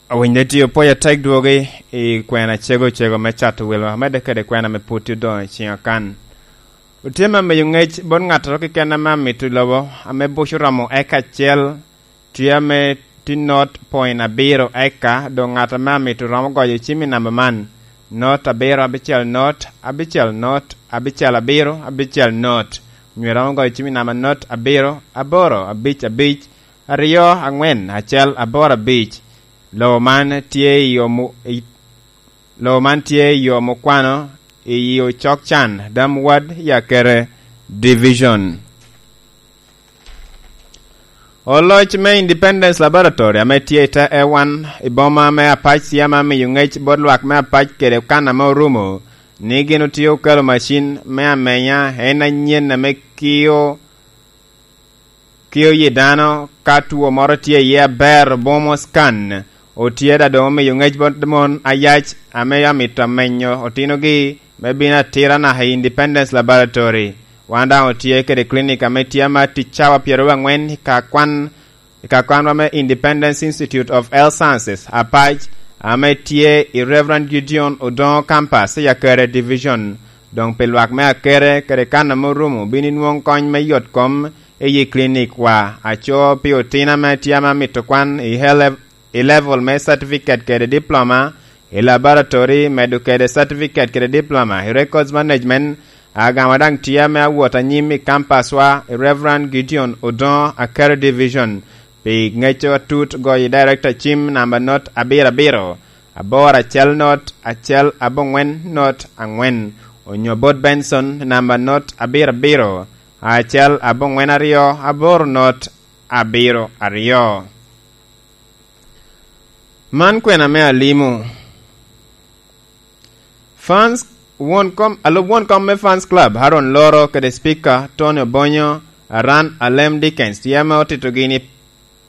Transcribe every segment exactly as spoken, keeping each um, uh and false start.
Awinyde tye opwoyo atek dwogi i kwena cego cego me cato wilwa, medde kede kwena me pwod tye odoŋo i ciŋa kan. Otye me miyo ŋec bot ŋattoro keken ame amito i lobo, ame buc oromo eka acel, tye ame tye not point abiro eka, doŋ ŋat ame amito romo goyo cim i namba man, not abiro abicel not, abicel not, abicel abiro, abicel not. Onyo romo goyo cim i namba not abiro, aboro, abic, abic, aryo, aŋwen, acel, aboro, abic. Lobo man tye i yo mu-, i, lobo man tye i yo mukwano i Ocok Can, Dam Ward, Yakere Division. Oloc me Independence Laboratory ame tye i te Ewan i boma me Apac tye ame miyo ŋec bot lwak me Apac kede kan ame orumo ni gin otye okelo macin me amenya en anyen ame kio, kio yi dano ka two moro tye iye aber, bomo scan. Otye da doŋ omiyo ŋec bot mon ayac ame amito amenyo otinogi me bino atira naka i Independence Laboratory. Wan daŋ otye kede clinic ame tye ama tic cawa pyeraryo angwen i ka kwan, i ka kwanwa me Independence Institute of Health Sciences, Apac, ame tye i Reverend Gideon Odongo Campus, i Akere Division. Doŋ pi lwak me Akere kede kan ame orumo, bino inwoŋ kony me yot kom i yi clinic wa. Aco pi otino ame tye ame amito kwan i health i level me certificate kede diploma i laboratory, medo kede certificate kede diploma i records management. Agama daŋ tye ame awot anyim i campus wa i Reverend Gideon Odongo, Akere Division. Pi ŋeco atut, goyo i director cim namba not abiro abiro, aboro acel not, acel abongwen not angwen, onyo bot Benson namba not abiro abiro, acel abongwen aryo, aboro not abiro aryo. Man kwena me alimo. Fans, won kom, alub won kom me Fans Club, Haron Loro kede Speaker Tony Obonyo, Aran Alem Dickens, tye ame otito gini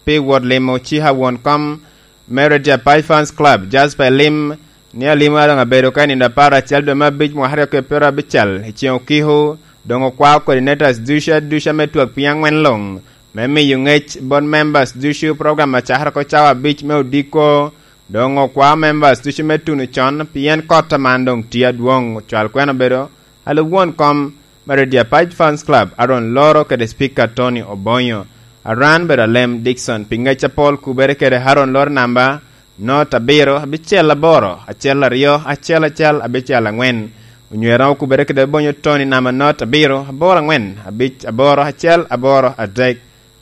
pi wot limo cika won kom me Radio Apac Fans Club, Jasper Lim, ni alimo a doŋ abedo ka i nino apar acel dwe me abic mwaka aryo kede pyero abicel i ceŋ okiko, doŋ okwao coordinators ducu aduca me twak piny angwen luŋ, me miyo ŋec bot members ducu. Program acakere oko cawa abic me odiko, doŋ okwao members ducu me tuno con, pien kot aman doŋ tye adwoŋ. Ocwal kwena obedo alub won kom me Radio Apac Fans Club, Aaron Loro kede Speaker Tony Obonyo. Aran bedo Alem Dickson, pi ŋec apol kubere kede Aaron Loro namba not abiro, abicel aboro, acel aryo, acel acel, abicel angwen. Onywera okubere kede Obonyo Tony namba not abiro, aboro angwen, abic aboro, acel aboro, adek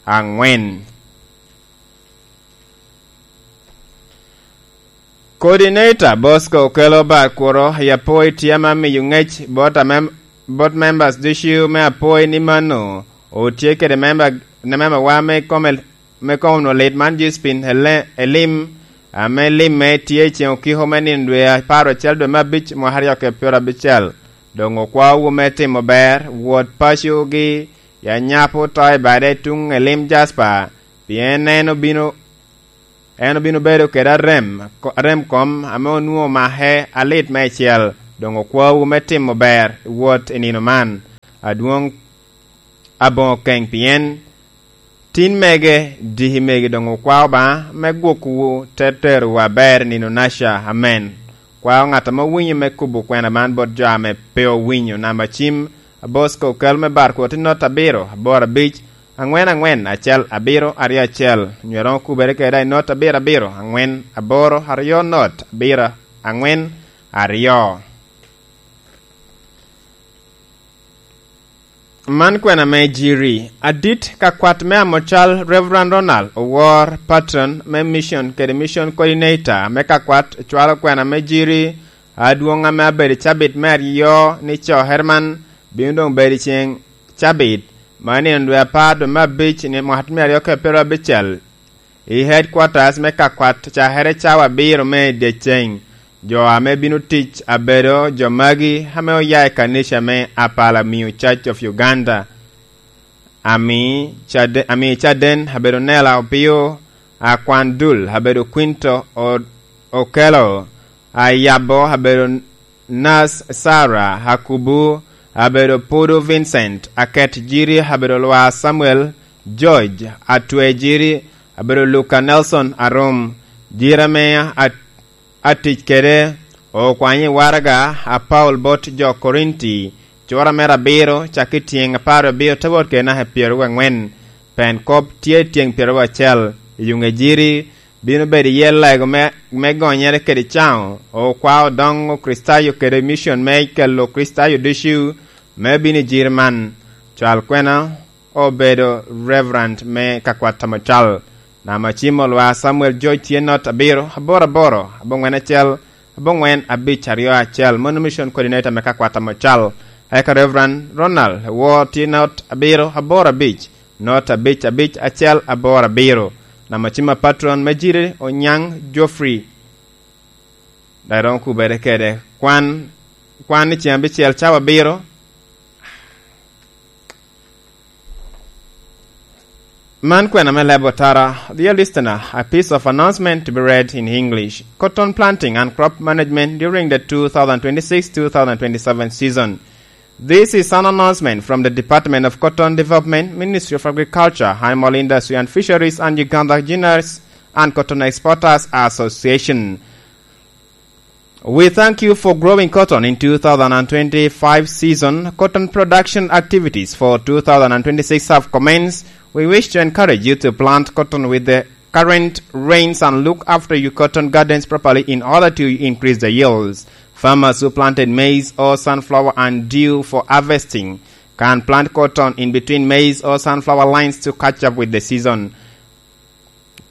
angwen. Coordinator Bosco Okello Barkworo i Apoi tye ame miyo ŋec bot amem-, bot members ducu me Apoi ni mano otye kede member, ne member wa me kom-, me kom onwo lit man Josephine Ele-, Elim, ame limme tye i ceŋ okiko me nino dwe apar acel dwe me abic mwaka aryo kede pyero abicel. Doŋ okwao wu me timo ber, wot pacogi, ya nyapo to i bade tuŋ Elim Jasper, pien en obino, en obino bedo kede arem, ko-, arem kom ame onwoŋo make alit meicel. Doŋ okwawu me timo ber i wot i nino man, adwoŋ aboŋo keŋ, pien tin mege, diki mege doŋ okwao Obaŋa me gwokwu te terowu aber i nino naca. Amen. Kwao ŋat ame owinyo me kubo kwena man bot jo ame pe owinyo. Namba cim, Bosco Okello me Barkworo, tye not abiro, aboro abic, angwen angwen, acel abiro, aryo acel. Onyo romo kubere kede i not abiro abiro, angwen aboro, aryo not, abiro, angwen, aryo. Man kwena me Jiri. Adit kakwat me amocal Reverend Ronald Owor, patron me mission kede mission coordinator me kakwat, cwalo kwena me Jiri. Adwoŋ ame abedo i cabit me aryo ni co Herman bino doŋ bedo i ceŋ cabit, ma nino dwe apar dwe me abic ni mwaka me aryo kede pyero abicel, i headquarters me kakwat cakere cawa abiro me dyeceŋ. Jo ame bino tic abedo jo magi ame oya i kanica me Apala Miyo Church of Uganda, Ami Cade-, Ami Caden abedo Nela Opio, Akwan Dul abedo Quinto O-, Okello, Ayabo abedo Nas Sarah, Akubu abedo Pudu Vincent, Aket Jiri abedo Lwa Samuel, George Atwe Jiri abedo Luka Nelson Arum, Jira ame a-, atic kede okwanyo i waraga a Paulo bot jo Korinti, cura mere abiro, cakki tyeŋ apar abiro te wot kede naka pyeraryo angwen. Pen kop tye tyeŋ pyeraryo acel. I yuŋ ejiri bino bedo iye lego me, me gonyere kede caŋo, okwa odoŋ Okricitayo kede micon me kelo Okricitayo ducu me bino i jiri man. Cal kwena obedo Reverend me kakwat Tamucal. Namba cim olwa Samuel George tye not abiro, aboro aboro, abongwen acel, abongwen abic aryo acel. Mono mission coordinator me kakwat Tamucal. Eka Reverend Ronald Wor tye not abiro, aboro abic, not abic abic acel aboro abiro. Namba cim a patron me jiri Onyaŋ Geoffrey. Dok romo kubere kede. Kwan, kwan ni ceng abicel cawa abiro. Man kwena me lebo tara. Dear listener, a piece of announcement to be read in English. Cotton planting and crop management during the two thousand twenty-six two thousand twenty-seven season. This is an announcement from the Department of Cotton Development, Ministry of Agriculture, Animal Industry and Fisheries, and Uganda Ginners and Cotton Exporters Association. We thank you for growing cotton in two thousand twenty-five season. Cotton production activities for two thousand twenty-six have commenced. We wish to encourage you to plant cotton with the current rains and look after your cotton gardens properly in order to increase the yields. Farmers who planted maize or sunflower and due for harvesting can plant cotton in between maize or sunflower lines to catch up with the season.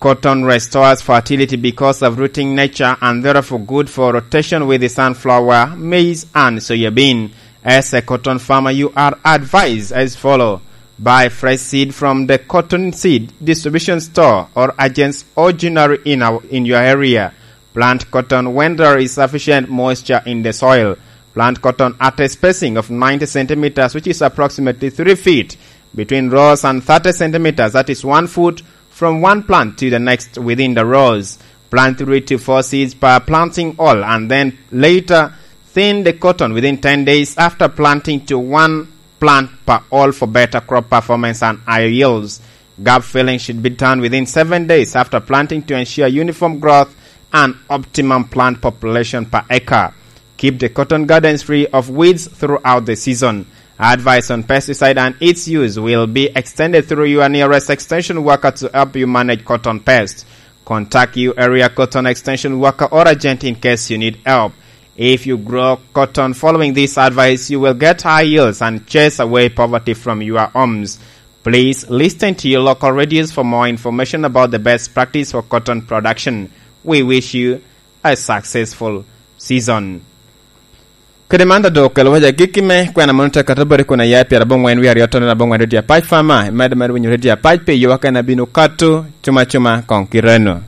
Cotton restores fertility because of rooting nature and therefore good for rotation with the sunflower, maize, and soya bean. As a cotton farmer, you are advised as follow. Buy fresh seed from the cotton seed distribution store or agents or generic in our, in your area. Plant cotton when there is sufficient moisture in the soil. Plant cotton at a spacing of ninety centimeters, which is approximately three feet, between rows and thirty centimeters, that is one foot, from one plant to the next within the rows. Plant three to four seeds per planting hole and then later thin the cotton within ten days after planting to one plant per hole for better crop performance and higher yields. Gap filling should be done within seven days after planting to ensure uniform growth and optimum plant population per acre. Keep the cotton gardens free of weeds throughout the season. Advice on pesticide and its use will be extended through your nearest extension worker to help you manage cotton pests. Contact your area cotton extension worker or agent in case you need help. If you grow cotton following this advice, you will get high yields and chase away poverty from your homes. Please listen to your local radios for more information about the best practice for cotton production. We wish you a successful season. Kede man, dok kelo waja gikki me kwena mono te kato bori kun aya i pyera abongwen wie aryo tono abongwen radio apac fama, imedo medo winyo radio apac pi yowa kena bino kato cuma cuma kong kireno.